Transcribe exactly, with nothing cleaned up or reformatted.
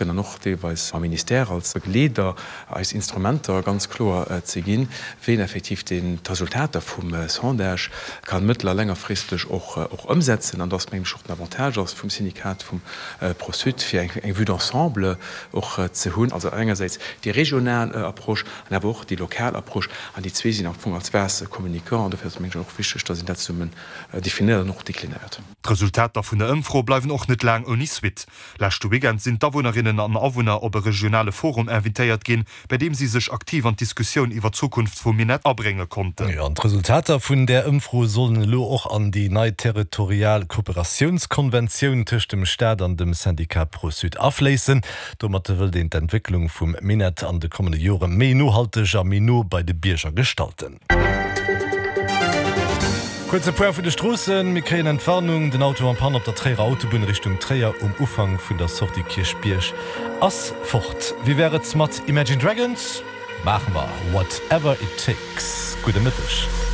An och deelweis mam Ministère als Begleeder, eis Instrumenter ganz kloer ze ginn, wéi een effektiv d'Resultater vum Sondage ka mëttel a längerfristeg och ëmsetzen. An dass, mengen ech, och den Avantage ass vum Syndikat vum Pro-Sud, fir eng Vue d'ensemble och ze hunn, also engersäits déi regional Approche an awer och déi lokal Approche. An déi zwee sinn am Fong als Vase communicant. An dofir ass et, mengen ech, och wichteg, dass een dat zesummen definéiert an och deklinéiert. D'Resultater vun der Ëmfro bleiwen och net laang ouni Suite. Leschte Weekend sinn d'Awunnerinnen an Awunner op e regionale Forum invitéiert ginn, bei deem si sech aktiv an d'Diskussioun iwwer d'Zukunft vum Minett abrénge konnten. Jo, an d'Resultater vun där Ëmfro sollen elo och an déi nei territorial Kooperatiounskonventioun tëscht dem Staat an dem Syndicat Pro-Sud afléissen. Domat wëllt een d'Entwécklung vum Minett an de kommende Jore méi nohalteg a méi no bei de Bierger gestalten. Kuerze Point vun de Stroossen, Mir kréien Entwarnung, den Auto en panne op der Tréierer Autobunn Richtung Tréier um Ufank vun der Sortie Kierchbierg ass fort. Wéi wär et mat Imagine Dragons? Maache mer Whatever It Takes. Gudde Mëtteg.